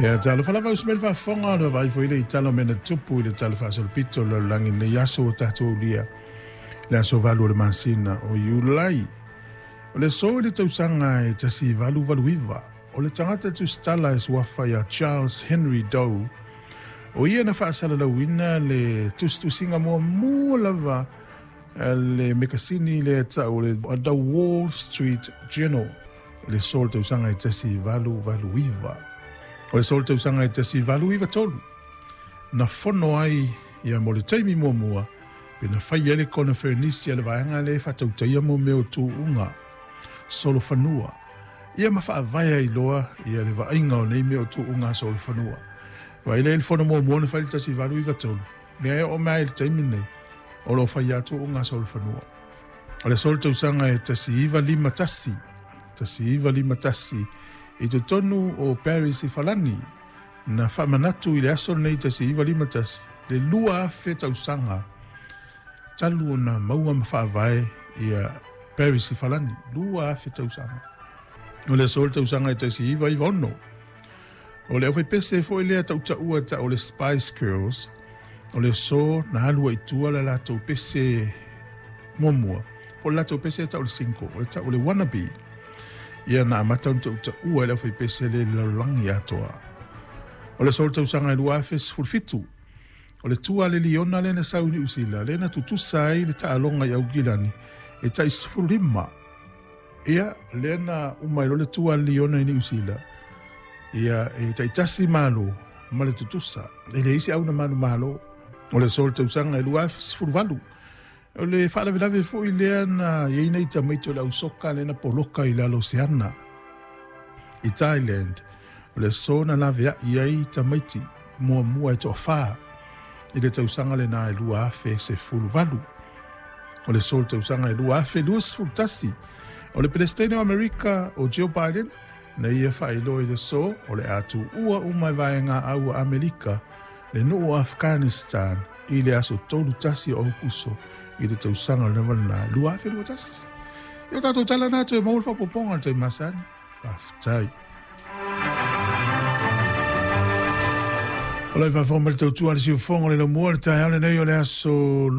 Ia, talofa lava uso mai le faafofoga, o le vaavaai foi le i tala o mea na tutupu i le tala faasolopito o le lalolagi i lenei aso ua tatou aulia, le aso 8 o le masina o Iulai. O le aso i le tausaga e 1889, o le tagata tusitala e suafa ia Charles Henry Doe, o ia na faasalalauina le tusitusiga muamua lava a le mekasini lea e tau o le The Wall Street Journal i le aso o le tausaga e 1889. O le aso o le tausaga e 1893, na fono ai ia mo le taimi muamua pe na fai ai le koneferenisi a le vaega lea e faatautaia mo mea o tuuga solofanua ia ma faavae ai loa ia le vaaiga o nei mea o tuuga solofanua. Vaai lea i le fono muamua na fai i le 1893, lea e oo mai i le taimi lenei o lo o fai lava tuuga solofanua. O le aso o le tausaga e 1951, 1951, i totonu o Paris i Falani, na faamanatu i le aso lenei 1951, le 2,000 tausaga talu ona maua ma faavae ia Paris i Falani, 2,000 tausaga. O le aso o le tausaga e 1996, o le aufaipese foi lea tautaua tau o le Spice Girls, o le aso na alu ai i tua le latou pese muamua, po o le latou pese e tau o le single, o le tau o le Wannabe. Ia na amata ona tautaua e le aufaipese lea i le lalolagi atoa. O le aso o le tausaga e 2017, o le tua a le liona lea na sau i Niu Sila, lea na tutusa ai le taaloga i Aukilani e tai 15. Ia, lea na uma ai loa le tua a le liona i Niu Sila, ia e taitasi malo ma le tutusa. E leai se auna manumalo. O le aso o le tausaga e 2018, o le faalavelave foi lea na i ai nai tamaiti o le ausoka lea na poloka i lalo o se ana i Thailand. O le aso na laveai ai tamaiti muamua e toafa i le tausaga lena e 2018. O le aso o le tausaga e 2021, o le Peresetene o Amerika o Joe Biden na ia faailoa i le aso o le a tuua uma e vaega au a Amerika le nuu o Afghanistan i le aso 31 o Aokuso i le tausaga lava lena 2021. Ia o tatou tala na toe maua le faaopoopoga i le taimi masani. Faafetai. O le faafofoga mai le tautua a le siufofoga o le laumua le taeao lenei o le aso